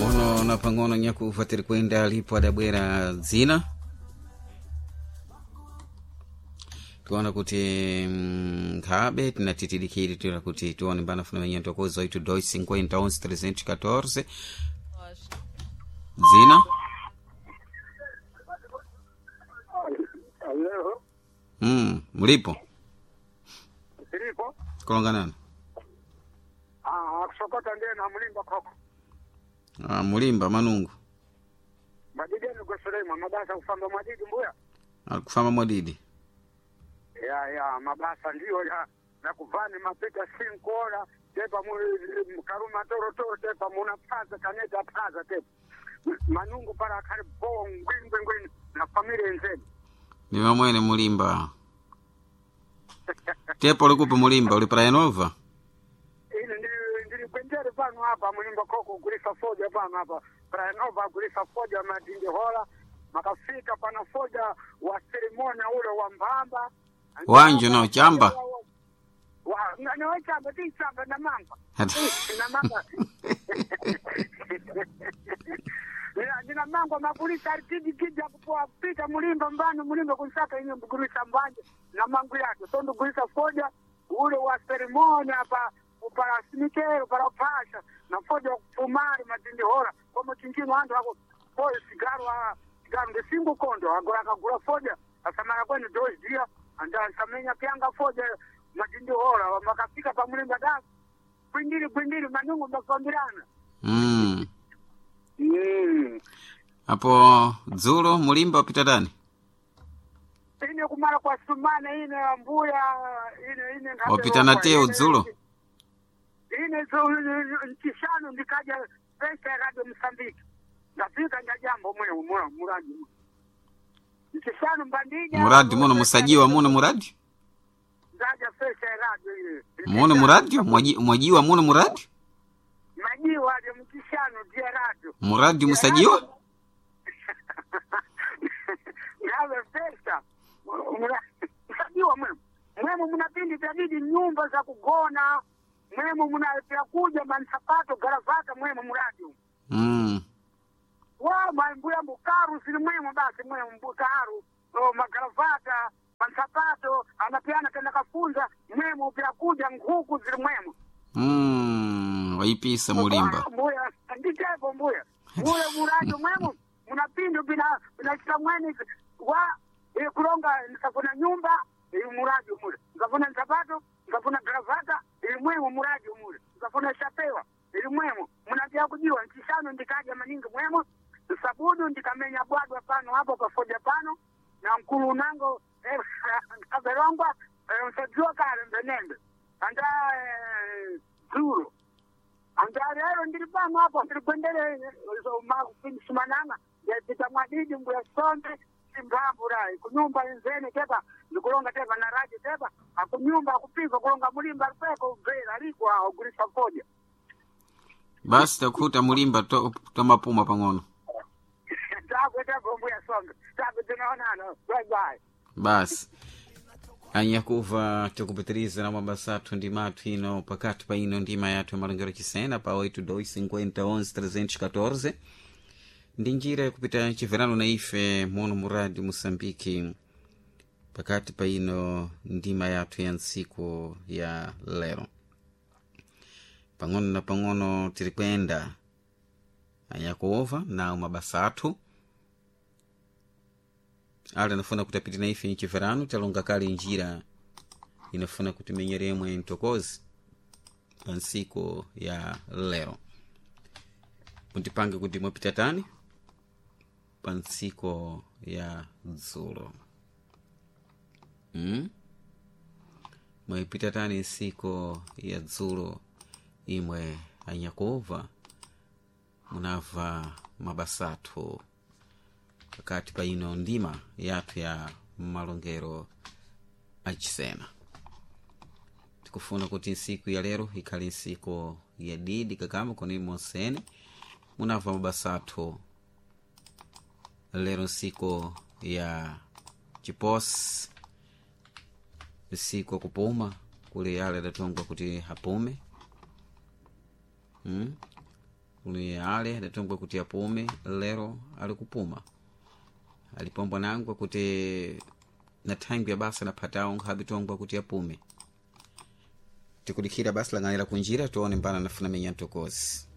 Pang'ono na pang'ono nyakufa tiri kuenda alipo adabwera dzina tiona kuti nkhabe tinatitidikiri tira kuti tione mbana funa menya ntokoza 8 2 50 11 314 dzina. Alo, Mulipo silipo. kulonganana? Ah, kusokota ndiye na mulimba koko. Ah, mulimba manungu. Madidi ni mabasa kufamba madidi mbuya. Akufamba mwadidi. Ya ya mabasa ndiyo ya na kuvani mapita sinkora tepa mu karuma toro toro tepa muna paza kaneta paza tepa. Manungu para kari bo ngwingwi ngwini na familia nzeni. Ni vamwene mulimba tepo likupi mulimba uli Praia Nova? Ine ndili ndili kwenjere pano hapa mulimba koko kulisa foja pano hapa. Praia Nova kulisa foja madindi hola makafika pana foja wa serimonia ule wa mbamba. Wanjo no chamba. Wa na chamba ti chamba na mamba. Na mamba. Nina mango makulisa aritidi kija kupoa pita mulimba mbano mulimba kunsaka inyo mgulisa mbanje na mangu yake so ndugulisa foja ule wa seremoni hapa para sinikero para pasha na foja wa kufumari matindi hora kwa chinchino andu ako kwa sigaro a sigaro ndisingo kondo agora akagula foja asamara kwene dois dia anda samenya pyanga foja matindi hora makafika pa mulimba da kwindiri kwindiri manungu mbafambirana. Apo dzulo mulimba wapita dani? Ine kumara kwa sumana ine mbuya ine ine ngabe Wapita na rokwa, teo ine- dzulo? Ine nchishanu ndikaja pesa ya radio Msambiki ndafika ndajambo mwe mura muradi nchishanu mbandija Muradi muno musajiwa muno muradi ndaja pesa ya radio ile muno muradio mwajiwa muno muradi majiwa aje mchishanu dia radio muradi musajiwa. Ngabe pesa msajiwa mwemu mwemu muna pindi vyadidi nyumba za kugona mwemu muna vyakuja mansapato garavata mwemu muradi wa mbuya mbukaru sili mwemu basi mwemu mbukaru o, magaravata mansapato anapiana kenda kafunza mwemu vyakuja nguku zili mwemu. Waipisa mulimba. Mbuya nditepo mbuya mule muradio mwemu muna pindu bina binachita mweni wa kulonga nikafuna nyumba ili muradio mule nikafuna nsapato nikafuna gravata ili mwemu muradio mule nikafuna shapewa ili mwemu munapya kujiwa nchishano ndikaja maningi mwemu sabudu ndikamenya bwadwa pano hapo pafoja pano na mkulu unango kaverongwa msajua kale mbenembe anda dzulo andarero ndiri pano apo ndiri kwendere sumananga ndapita mwadidi mbuya sombe simbamburai kunyumba inzene tepa ndikulonga tepa na raji tepa akunyumba akupika kulonga mulimba alipeko ubvera aliko awo gulisa foja. Basi takuta mulimba tomapuma pang'ono. Takwe tepo mbuya sombe takwe tinaonana, bye bye. Basi anyakuva tikupitiriza na mabasa athu ndi mathu ino pakati pa ino ndima yathu ya malongero chisena pa 8 2 50 11 314 ndi njira yakupita chiverano na ife muno mu radio Moçambique pakati pa ino ndima yathu ya ntsiku ya lero pang'ono na pang'ono tiri kuyenda anyakuova nawo mabasa athu ali anafuna kuti apite na ife mchiverano talonga kale njira inafuna kuti menyeremwe mtokozi pa ntsiku ya lero mutipange kuti mwapita tani pa ntsiku ya dzulo. Mwayipita tani ntsiku ya dzulo imwe anyakova munamva mabasa athu pakati pa ino ndima yathu ya malongero achisena tikufuna kuti ntsiku ya lero ikhale ntsiku ya didi kakama koni monsene munamva mabasa athu lero ntsiku ya chiposi ntsiku akupuma kuli yale adatongwa kuti apume. Kuli ale adatongwa kuti apume, lero ali kupuma. Alipombwa nangwa kuti na thangwi ya basa naphatawo nkhabe tongwa kuti apume. Tikudikhira basi lang'anira kunjira, tione mbana nafuna menya mtokozi.